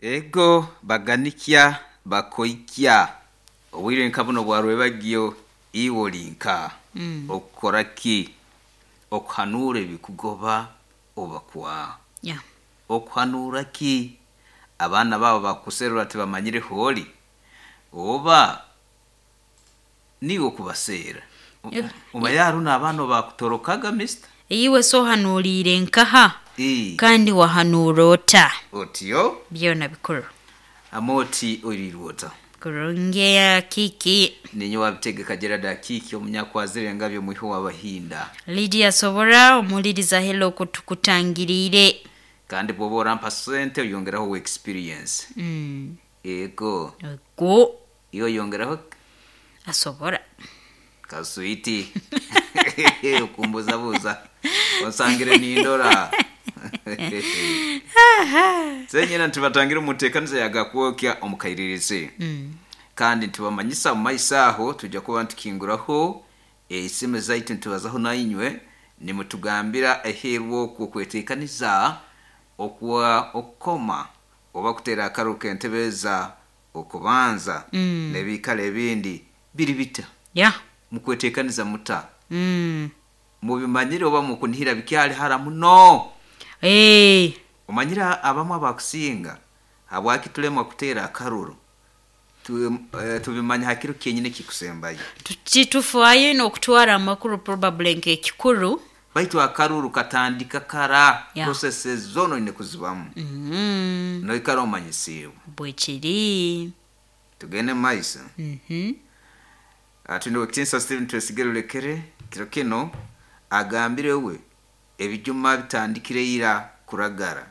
Ego baganikya bakoikya obwire nka buno bwarwebagyo iwe ori nka okukora ki okuhanuura ebikugoba oba kwa okuhanuura ki abaana baabo bakuserura tibamanyire hooli oba niiwe okubaseera omanyire haroho n'abaana obakutorokaga mister. Iwe se ohanuuriire nkaha kandi wahanuura ota? Otyo. Byona bikuru. Amooti oiriirwe ota? Kurungi eya Kiki. Ninyowe Abitegeka Gerald Akiiki Omunyakwazire Engabi omwiho w'Abahinda. Lydia Sobora omuhuliriza hello kutukutangiriire. Kandi bwoba orampa sente oyongeraho owa experience. Ego. Ego. Iwe oyongeraho ki? Asobora. Kaswiti. Okumbuzabuza. Onsangire nindora. Senyena nitubatangira omu nteekaniza ya Gakwokya omu kairirizi. Kandi nitubamanyisa omu maiso aho twija kuba nitukinguraho esimu zaitu nitubazaho nainywe nimutugambira eheeru okwo okweteekaniza okwa okukoma oba kuteera akaruru k'entebeeza okubanza n'ebiikaro ebindi biri bita? Mukweteekaniza muta? Mubimanyire oba mukunihira bikyali hara muno? Omanyire abamu abakusinga habwaki tulemwa kuteera akaruru tubimanya ha kiro kyenyini ekikusembayo. Titufaayo inho okutwara amakuru probably nk'ekikuru. Baitu akaruru katandika kara, processes zoona oine kuzibamu. Noikara omanyisiibwe. Bwekiri. Tugende mu maiso. Twine Owekitiinisa Stephen Twesige Rulekere kiro kinu agambire we ebijuma bitandikire ira kuragara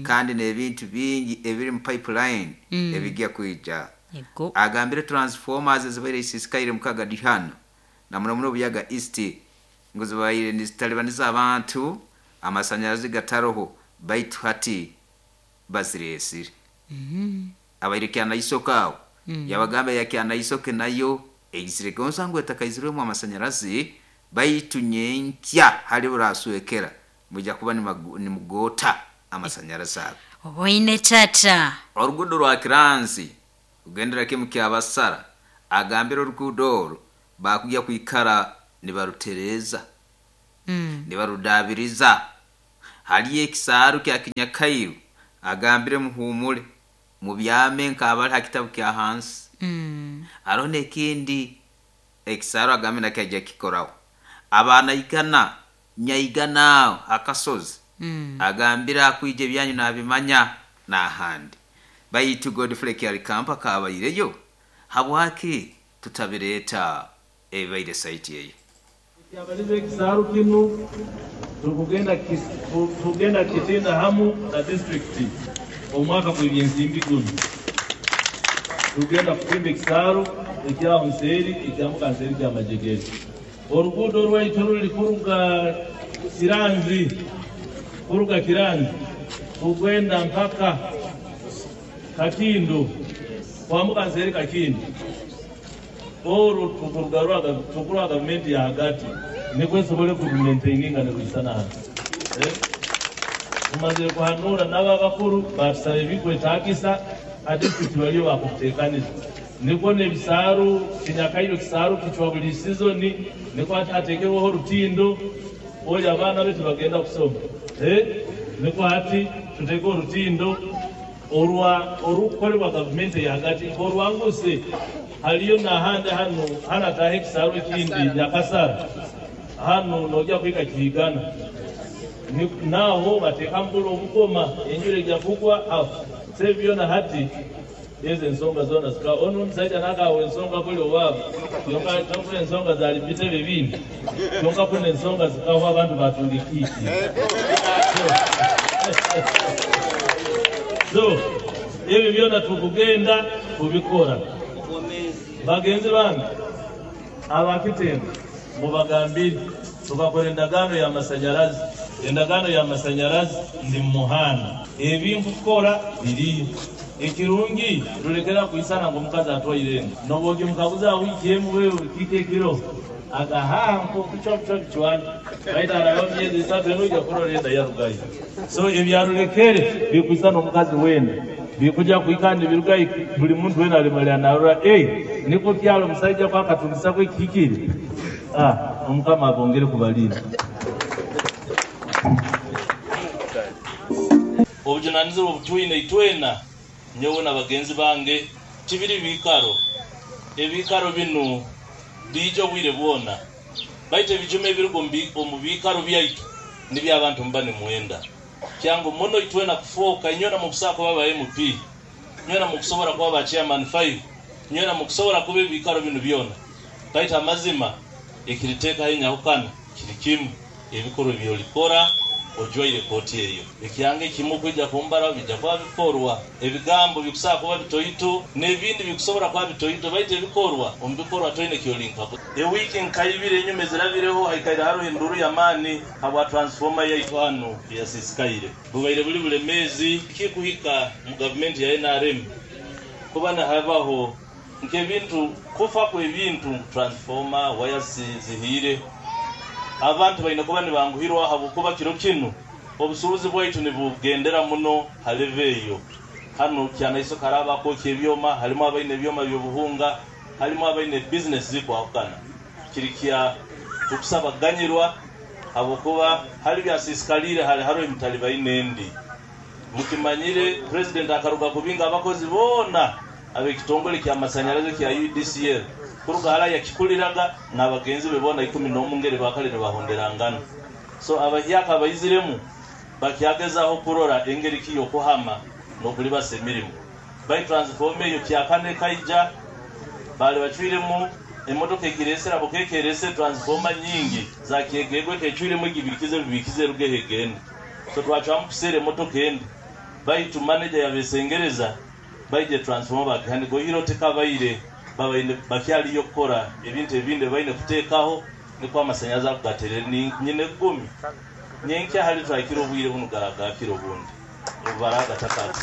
kandi n'ebintu bingi ebiri mu pipeline ebigya kwija. Agambire transformers ezibaire isisikaire mukaga Dihano na muno muno Buyaga East ngu zibaire nizitalibaniza abantu amasanyarazi gataroho baitu hati bazireesire. Abaire Kyanaisoke aho yabagamba eya Kyanaisoke nayo eizire gonza ngu etakaizirwemu amasanyarazi baitu nyenkya hali buraswekera mwija kuba nimugoota amasanyarazi ago. Oboine tata. Oruguudo rwa Kiranzi kugendera kimu Kyabasara agambire oruguudo oru baakugya kwikara nibarutereeza, nibarudaabiriza. Haliyo ekisaaru kya Kinyakairu agambire muhuumure mubyame nk'abali ha kitabu kya hansi. Haroho n'ekindi ekisaaru agambire nakyo aija kukikoraho. Abaana igana nyaigana aho ha kasozi agambire akwija ebyanyu nabimanya n'ahandi. Baitu Godfrey Kyalikampa akabaireyo, habwaki tutabireeta ebibaire saiti eyo? Ekyabalize ekisaaru kinu turikugenda kukitinda hamu na disiturikiti omu mwaka gw'ebyensimbi gunu. Turikugenda kutimba ekisaaru ekyaho nseeri ekyambuka nseeri kya Majegere. Oruguudo rwaitu oruri kuruga Kiranzi kuruga Kiranzi kugenda mpaka Kakindu kwambuka nseeri Kakindu. Oru tukuruha gavumenti ya hagati nikwo esobole kurumentaininga nirwisana hati. Tumazire kuhanuura nabo abakuru baatusaba ebikwetagisa ha disiturikiti bariyo bakubitekaniza. Nikwo n'ebisaaru Kinyakairwe ekisaaru kicwa buri sizoni nikwo hati hatekerweho orutindo ori abaana be tibagenda kusoma. Nikwo hati tuteke orutindo. Orwa orukukolebwa gavumenti eyahagati nk'orwanguse haliyo nahandi hanu hanu ataaha ekisaaru ekindi Nyakasara hanu nogya kuhika Kihigana naho batekamu buli obugoma enjura egya kugwa aho so ebi byona hati ezo ensonga zona zikaho onu omusaija nakahaho ensonga kuli owabu kyonka kuli ensonga zali mubitebe ebindi kyonka kunu ensonga zikahwa abantu batunga ekiiki. So ebyo byona tukugenda kubikora. Bagenzi bange aba Kitembe mubagambire tukakora endagaano ya masanyarazi, endagaano ya masanyarazi ndi mumuhanda, ebi nkukora biriyo. Ekirungi rulekera kwisana ngu omukazi atwaire enda. N'obu ogimukaguza wiiki emu wewe kiki ekiro agaha nko kucwa bicwani baitu araba myezi 3 enoija kurora enda yarugayo. So ebyarulekere bikwisana omukazi wenda bikuja kuikana nibirugayo buli muntu wena alimalira narora niko kyalo omusaija kwakatundisako ekihikire. Omukama abongere kubalinda. Obujunanizibwa obutwine itwena nyowe na bagenzi bange tibiri bikaro ebikaro binu biija obwire bwona baitu ebijuma ebiruga omu bikaro byaitu nibyo abantu mba nimwenda kyangu muno itwena kufoka inywena mukusobola kuba ba MP, inywena mukusobola kuba ba chairman 5, inywena mukusobola kuba ebikaro binu byona baitu amazima ekiriteekaho enyahukana kiri kimu ebikorwa ebyolikora ojwaire kooti eyo. Ekyange kimu kwija kumbara bijja kuba bikorwa ebigambo bikusaba kuba bitoito n'ebindi bikusobola kuba bitoito baitu ebikorwa omu bikorwa toine kyolinka. Ewiiki nkaibire enyuma ezirabireho haikaire hariho enduru y'amaani habwa transformer yaitu hanu eyasisikaire. Bubaire buli bulemeezi kikuhika mu gavumenti ya NRM kuba nahabaho nk'ebintu kufa kw'ebintu transformer waya zihiire. Abantu baine kuba nibanguhirwa habwokuba kiro kinu obusuubuzi bwaitu nibugendera muno haleve eyo. Hano kyanaiso karaba kwokya ebyoma, harimu abaine ebyoma by'obuhunga, harimu abaine business zikwahukana. Kiri kya tukusabaganyirwa habwokuba hari byasisikalire hari hariho emitali baine endi. Mukimanyire president akaruga kubinga abakozi boona ab'ekitongole ky'amasanyarazi kya UDCL kuruga hara yakikuliraga n'abagenzi be boona 11 ngeri bakale nibahonderangana. So abahyaka abaiziremu bakyagezaho kurora engeri ki y'okuhama n'okulibasa emirimu. Bai transform eyo kyakane kaija bali bacwiremu emotoka egiresera bukekerese transformer nyingi za kyegegwe kecwiremu egibikize bibikize rugehe gende. So twacwamu kusera emotoka endi baitu manager yabesengereza baije transformer bakihane gohiro tekabaire babaine bakyaliyo kukora ebintu ebindi baine kuteekaho nikwo amasanyazi akugaterere nyine gumi nyenkya hali twakira obwire buno garagakira obundi obubaraga takati.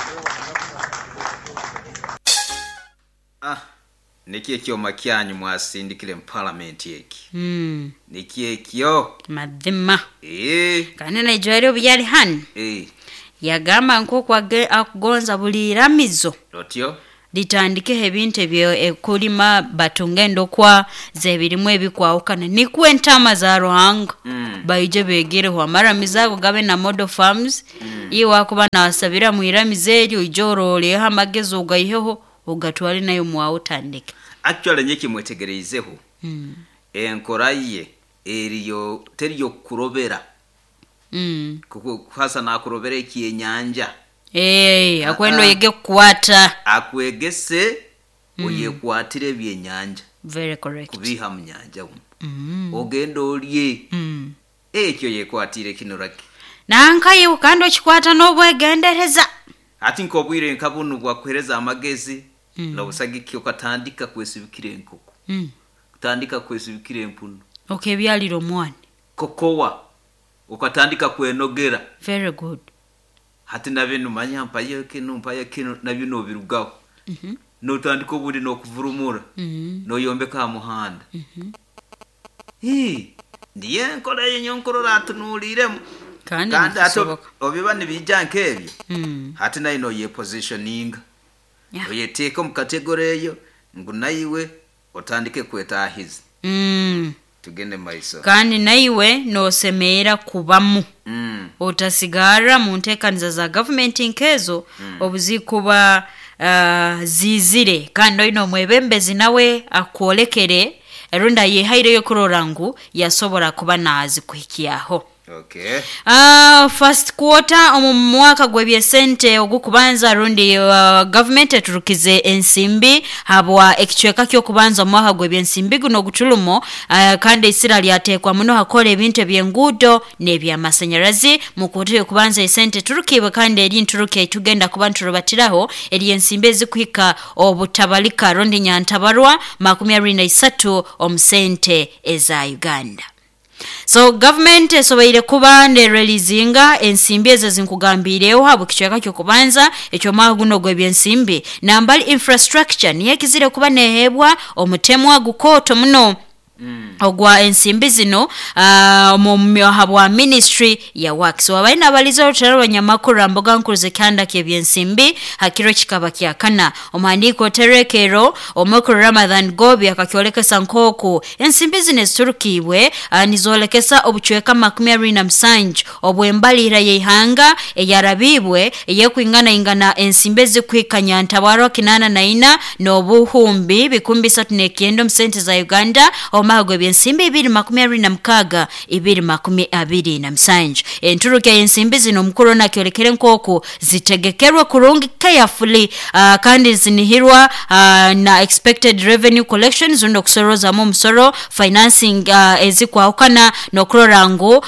Niki ekyoma kyanyu mwasindikire mu parliament eki? Niki ekyo? Mazima. Kandi naijwire obu yali hanu. Yagamba nk'oku akugonza buli iramizo. Otyo? Litandikeho ebintu ebyo kulima batunga endokwa z'ebirimu ebikwahukana nikwo entama za Ruhanga baije begereho amaramizo ago gabe na model farms. Iwe akuba nasabira mu iramizo eryo ije oroleho amagezi ogaiheho ogatwale nayo mwawe otandike. Actually nye kimwetegereizeho enkora ye eriyo teriyo kurobera. Kuko hasa nakurobera ekyenyanja. Akwenda oyege kukwata. Akwegese oyekwatire ebyenyanja. Very correct. Kubiha mu nyanja ogenda olye. Ekyo yekwatire kino raki. Nankaye kandi okikwata n'obwegendereza. Ati nkobwire nkabunu bwakuhereza amagezi n'obusagiki okatandika kwesibikira enkoko. Kutandika kwesibikira empunu. Okebyalira omwana. Kokowa okatandika kwenogera. Very good. Hati nabyo numanya mpayo kino nabyo nobirugaho. Notandika obundi nokuvurumura. Noyombeka muhanda. Ndiye nkora yenyo nkorora atunuuliremu. Kandi obiba nibijja nk'ebyo. Hati nayo noyepositioninga. Oyeteeka omu kategori eyo ngu naiwe otandike kwetaahiza. Tugende maiso. Kandi naiwe nosemeera kubamu. Otasigara mu nteekaniza za gavumenti nkezo obuzikuba zizire kandi oine omwebembezi nawe akwolekere erunda yehaireyo kurora ngu yasobora kuba nazikuhikyaho. Okay. First quarter omu mwaka gw'ebyesente ogukubanza rundi government eturukize ensimbi habwa ekicweka ky'okubanza omu mwaka gw'ebyensimbi guno ogutulumo kandi isira lyateekwa muno hakora ebintu eby'enguudo n'ebyamasanyarazi mu kuota y'okubanza esente eturukibwe kandi eri nturuke tugenda kuba nturubatiraho eri ensimbi ezikuhika obutabalika rundi nyantabarwa 23 omu sente eza Uganda. So government esoboire kuba nereleasinga ensimbi ezo zinkugambiireho habwe kicweka ky'okubanza eky'omwaka guno ogw'ebyensimbi. Nambali infrastructure niyo ekizire kuba neheebwa omutemwa gukooto muno ogwa ensimbi zino habwa ministry ya works. Wabaire nabaliza orutaro rwanyamakuru mboga nkuru z'ekyanda ky'ebyensimbi hakiro kikaba kyakana. Omuhandiiko oterekero omukuru Ramadhan Gobi akakyolekesa nk'oku ensimbi zino eziturukiibwe nizoolekesa obucweka 27 obw'embalira y'eihanga eyarabiibwe eyekwinganaingana ensimbi ezikuhikanya ntabwaro 84 n'obuhumbi 309 omu sente za Uganda omwaka gw'ebyensimbi 2026 2027. Enturuka y'ensimbi zino omukuru nakyolekere nk'oku zitegekerwe kurungi carefully, kandi zinihirwa na expected revenue collection zundi okusorozamu omusoro financing ezikwahukana n'okurora ngu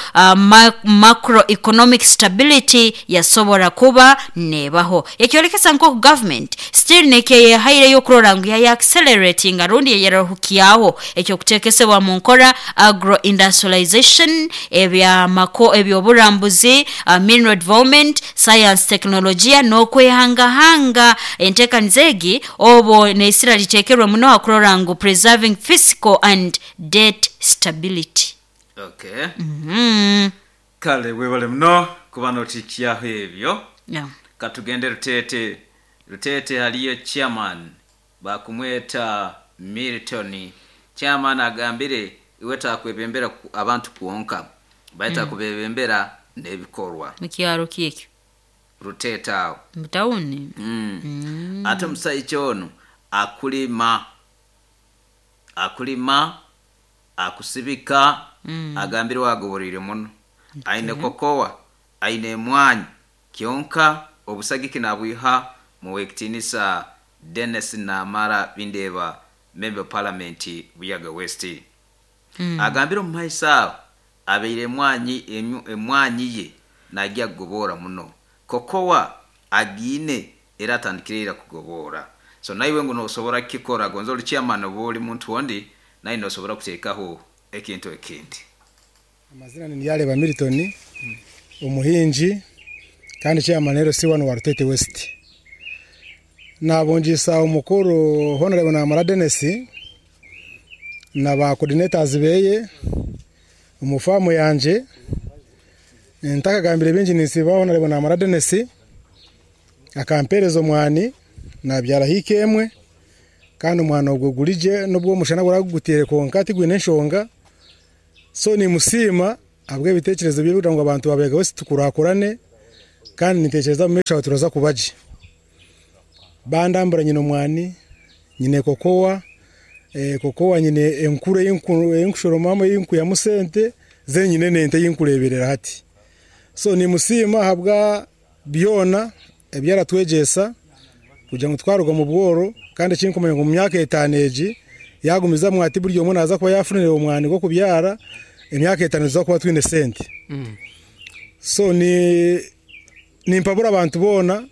macroeconomic stability yasobora kuba nebaho. Ekyolekesa nk'oku government still nekyeyehaireyo okurora ngu yaya accelerating rundi yayerahukiaho ekyokuteekesebwa mu nkora agro industrialization, ebyamako, ebyoburambuzi, mineral development, science, technologia n'okwehangahanga. Enteekaniza egi obo neisira liteekerwe muno hakurora ngu preserving fiscal and debt stability. Okay. Kale webale muno kuba notikyaho ebyo. Yeah. Katugende Rutete. Rutete haliyo chairman bakumweta Milton. Chairman agambire iwe takwebembera abantu kuonka baita kubebembera n'ebikorwa. Mukyaro kyekyo Rutete awo mutawuni. Ate omusajja ono akulima akusibika. Agambire wagoborire muno. Aine kokowa, aine emwanyi kyonka obusagiki nabwiha muwekitinisa Dennis Namara Bindeba, member parliament Buyaga West. Agambire omu maiso aho abeire emwanyi ye najya kugobora muno, kokowa agiine era atandikire kugobora. So naiwe ngu nosobora kukikora gonza oli chairman oba oli muntu ondi, naye nosobora kuteekaho ekintu ekindi. Amazina ni Yareba Milton, omuhingi kandi chairman LC1 wa Rutete West. Nabongisa omukuru Honorable Namara Dennis na ba coordinators beye omufamu yanje. Ntakagambire bingi nisiba Honorable Namara Dennis akampereza omwani nabyara hikemwe, kandi omwana ogwo gurije nubwo omushana guragutere konka tigwine enshonga. So ni musima abwe ebitekerezo bye kugira ngo abantu babega wese tukurakurane, kandi nitekereza mu mesha turaza kubaje. Bandambura nyine omwani, nyine kokowa, kokowa nyine enkure y'inkushoromamo y'inku ya musente zenyine nente y'inkureberera hati. So ni musima habwa byona ebyaratwegesa kugira ngo twaruga mu bworo, kandi kinkumenya ngo mu myaka 5 egi yagumiza mwati buri omwe naza kuba yafunire omwani go kubyara emyaka 5 tuza kuba twine sente. So ni nimpabura abantu bona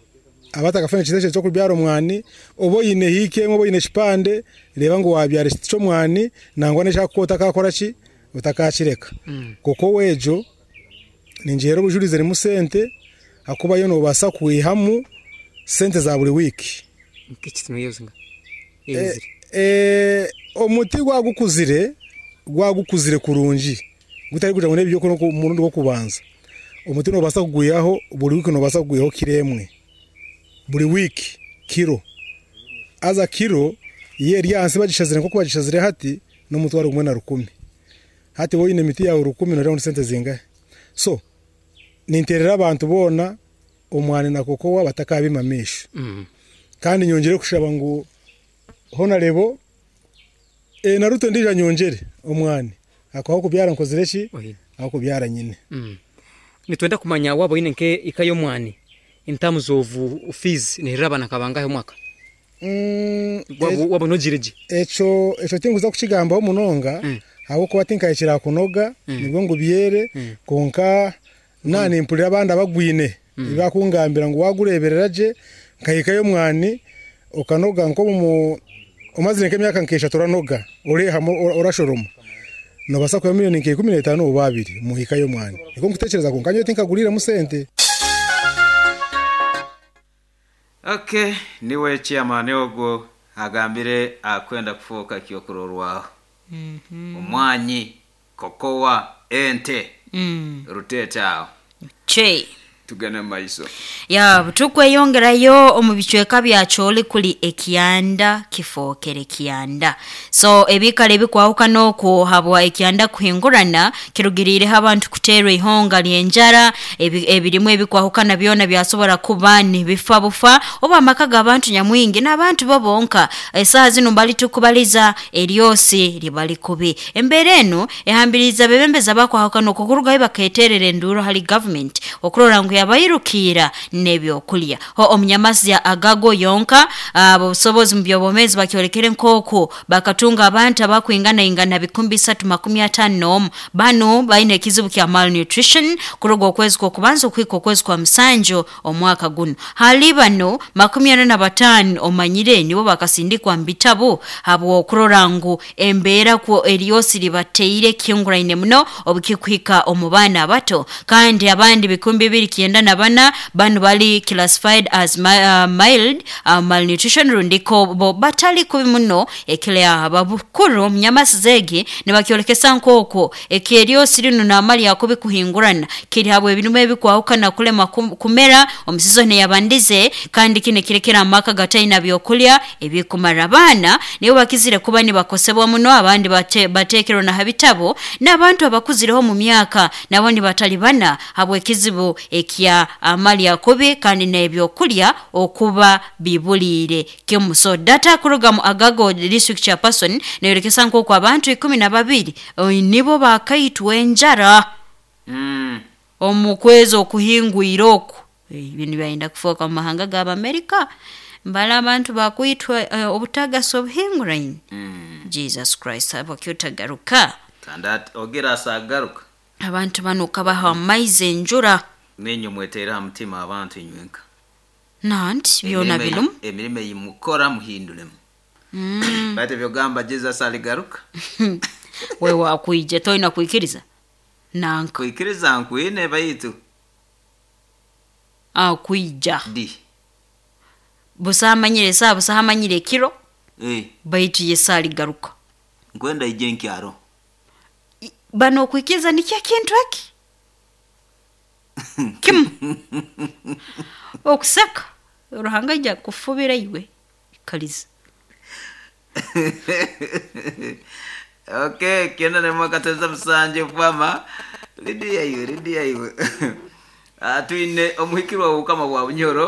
abatakafanya ekitekerezo cyo kubyara omwani, obo yine hike obo yine kipande, reba ngo wabyara ekiti cy'omwani nangwa n'ekyakukota kakora ki utakakireka. Kuko wejo ninjero obujurize rimu sente akuba yo nobasa kuihamu sente za buri wiki. Omuti gwagukuzire kurungi gutari kuja ngo nebyo ko murundi wo kubanza. Omuti nobasa kuguyaho buri wiki, nobasa kuguyaho kiremwe buri wiki kiro. Aza kiro ye ryansi bagishazire nko bagishazire hati n'umutwaro gumwe na 10. Hati wowe ine miti yawe 10 no round sente zingahe. So ninterera abantu bona omwani na kokowa batakabimamisha. Kandi nyongere kushaba ngo Honorable naruto ndija nyongere omwani akaho kubyara nkozire ki aho kubyara nyine. Nitwenda kumanya wabo ine nke ikayo mwani in terms of fees ni raba nakabangahe mwaka. Wabo nojireje eco tinguza kukigambaho munonga aho kuba tinkayikira kunoga nibwo ngo byere konka nani mpulira abandi abagwine ibakungambira ngo wagureberera je nkayikayo mwani okanoga nko mu omazire nk'emyaka nkesha turanoga oreha orashoroma. Nobasa kuya milioni nka 15 oba 2 mu hika y'omwani. Niko nkutekereza ko nkanyo tinkaguliremu sente. Okay, niwe chairman ogwo agambire akwenda kufuuka kyokurorwaho. Omwanyi, kokowa, ente, rutete aho. Che. Tugende mu maiso. Ya tukweyongerayo omu bicweka bya Choli kuli ekyanda kifookere kyanda. So ebikala ebikwahukana okwo habwa ekyanda kuhingurana kirugiriireho abantu kuteerwa ihonga ly'enjara, ebirimu ebikwahukana byona byasobora kuba nibifa bufa oba amaka g'abantu nyamwingi n'abantu bo bonka. Esaaha zinu mbali tukubaliza eryosi libali kubi. Embeera enu ehambiriza abebembezi abakwahukana okwo kurugayo bakeeterera enduuro hali government okurora ngu yabairukira n'ebyokulya. Ho omunyamasi agago yonka abobusobozi mu by'obwomeezi bakyolekere nk'oku bakatunga abantu abakwinganaingana 351. Bano baine ekizibu kya malnutrition kuruga okwezi kw'okubanza okuhika okwezi kwa musanju omwaka guno. Hali bano 45 omanyire nibo bakasindikwa mu bitabu habw'okurora ngu embeera kwo eryosi libateire kihunguraine muno obukikuhika omu baana abato, kandi abandi 294 bano bali classified as mild malnutrition rundiko bo batali kubi muno ekile abakuru omunyamasi zegi nibakyolekesa nk'okwo ekyeryosi lino n'amali akubi kuhingurana kiri habwe ebirimu ebikwahukana kulema kumera omusizo neyabandize, kandi kino kirekera amaka gataina byokulya ebikumara. Abaana nibo bakizire kuba nibakosebwa muno, abandi bateekerwa na habitabo n'abantu abakuzireho mu myaka nabo nibatalibana habw'ekizibu ekya amali akubi kandi n'ebyokulya okuba bibuliire kimu. So data kuruga mu Agago district chairperson neyorekesa nk'oku abantu 12 nibo bakaitwa enjara omu kwezi okuhingwire oku. Ibintu byayenda kufuuka mu mahanga g'Abamerika mbala abantu bakwitwa obutagasi obuhinguraine. Jesus Christ abakyotagaruka. Kandi ogira asagaruka. Abantu bano kabaha amaizi enjura. Ninyo mweteera ha mutima abantu inywenka. Nanti byona birumu. Emirimo eyimukora muhindulemu. Bate byogamba Jesus aligaruka. Wewe wakwija toina kuikiriza. Nanka. Kuikiriza nkwine baitu. Akwija. Di. Busamanyire saa busamanyire kiro. Baitu Yesu aligaruka. Nkwenda ije nkyaro. Bano kuikiriza ni kya kintu eki? Kimu. Okuseka Ruhanga ajja kufubira iwe kaliza. Okay, kenda ne mwaka teza musanje kwama Lidia iwe, Lidia iwe. Twine omuhikirwa obukama bwa Bunyoro.